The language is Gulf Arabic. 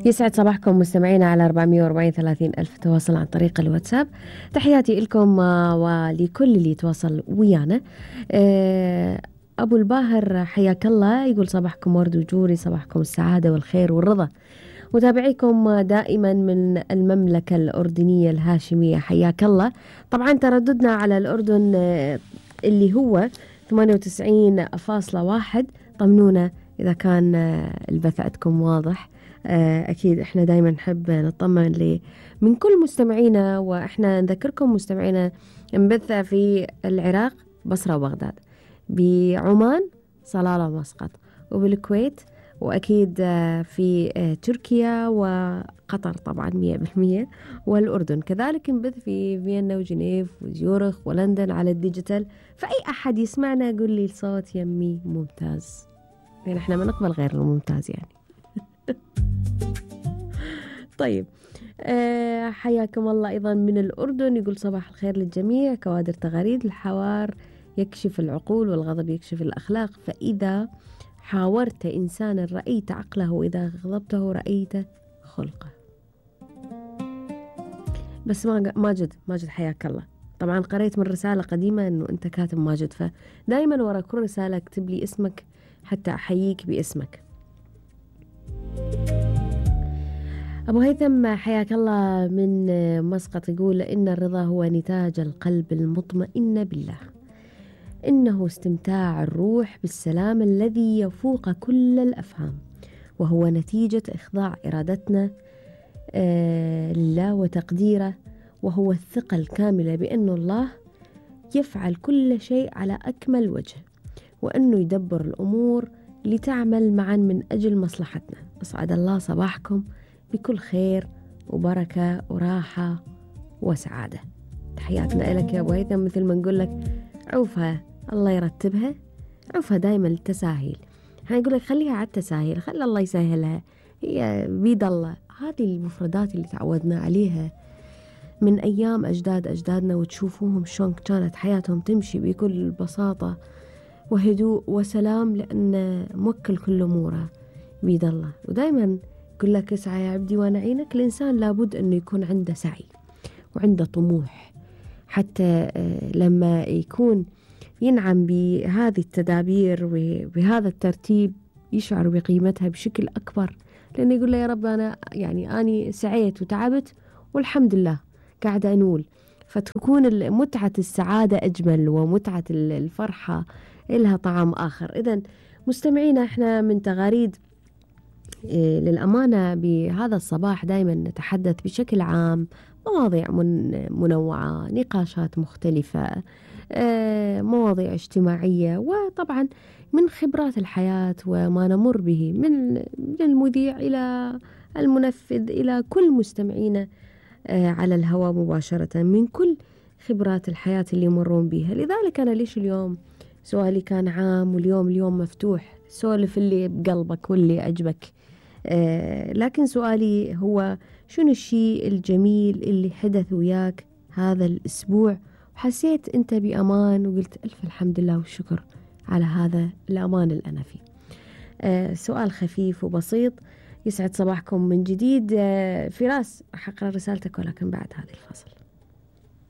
يسعد صباحكم مستمعينا على 440 ألف تواصل عن طريق الواتساب. تحياتي لكم ولكل اللي يتواصل ويانا. أبو الباهر حياك الله، يقول صباحكم ورد وجوري، صباحكم السعادة والخير والرضا. متابعيكم دائما من المملكة الأردنية الهاشمية، حياك الله. طبعا ترددنا على الأردن اللي هو 98.1. طمنونا إذا كان البث عندكم واضح. أكيد إحنا دايما نحب نطمن من كل مستمعينا، وإحنا نذكركم مستمعينا نبث في العراق بصرة وبغداد، بعمان صلالة ومسقط، وبالكويت، وأكيد في تركيا وقطر طبعا 100%، والأردن كذلك نبث في فيينا وجنيف وزيورخ ولندن على الديجيتال. فأي أحد يسمعنا يقول لي الصوت يمي ممتاز، يعني إحنا ما نقبل غير الممتاز يعني. طيب حياكم الله أيضا من الأردن، يقول صباح الخير للجميع، كوادر تغاريد الحوار يكشف العقول والغضب يكشف الأخلاق، فإذا حاورت إنسانا رأيت عقله، وإذا غضبته رأيت خلقه. بس ماجد حياك الله، طبعا قريت من رسالة قديمة أنه أنت كاتب ماجد، فدايما ورا كل رسالة اكتب لي اسمك حتى أحييك باسمك. أبو هيثم حياك الله من مسقط، يقول إن الرضا هو نتاج القلب المطمئن بالله، إنه استمتاع الروح بالسلام الذي يفوق كل الأفهام، وهو نتيجة إخضاع إرادتنا لله وتقديره، وهو الثقة الكاملة بأن الله يفعل كل شيء على أكمل وجه، وأنه يدبر الأمور لتعمل معا من أجل مصلحتنا. أسعد الله صباحكم بكل خير وبركة وراحة وسعادة. تحياتنا لك يا أبو هيثم، مثل ما نقول لك عوفها الله يرتبها، عوفها دايما التساهيل. هنقول لك خليها على التساهيل، خلي الله يسهلها، هي بيد الله. هذه المفردات اللي تعودنا عليها من أيام أجدادنا، وتشوفوهم شلون كانت حياتهم تمشي بكل بساطة وهدوء وسلام، لأن موكل كل أموره بيد الله. ودايما يقول لك اسعى يا عبدي وأنا أعينك. الإنسان لابد أنه يكون عنده سعي وعنده طموح، حتى لما يكون ينعم بهذه التدابير وبهذا الترتيب يشعر بقيمتها بشكل أكبر، لأنه يقول له يا رب أنا سعيت وتعبت والحمد لله قاعدة أنول. فتكون متعة السعادة أجمل، ومتعة الفرحة إلها طعم آخر. إذن مستمعينا، إحنا من تغاريد للأمانة بهذا الصباح دائما نتحدث بشكل عام مواضيع منوعة، نقاشات مختلفة، مواضيع اجتماعية، وطبعا من خبرات الحياة وما نمر به من المذيع إلى المنفذ إلى كل مستمعين على الهواء مباشرة، من كل خبرات الحياة اللي يمرون بها. لذلك أنا ليش اليوم سؤالي كان عام، واليوم مفتوح، سولف اللي بقلبك واللي عجبك. لكن سؤالي هو شنو الشيء الجميل اللي حدث وياك هذا الأسبوع وحسيت أنت بأمان وقلت ألف الحمد لله والشكر على هذا الأمان اللي أنا فيه. سؤال خفيف وبسيط. يسعد صباحكم من جديد. فراس راح أقرأ رسالتك ولكن بعد هذه الفصل.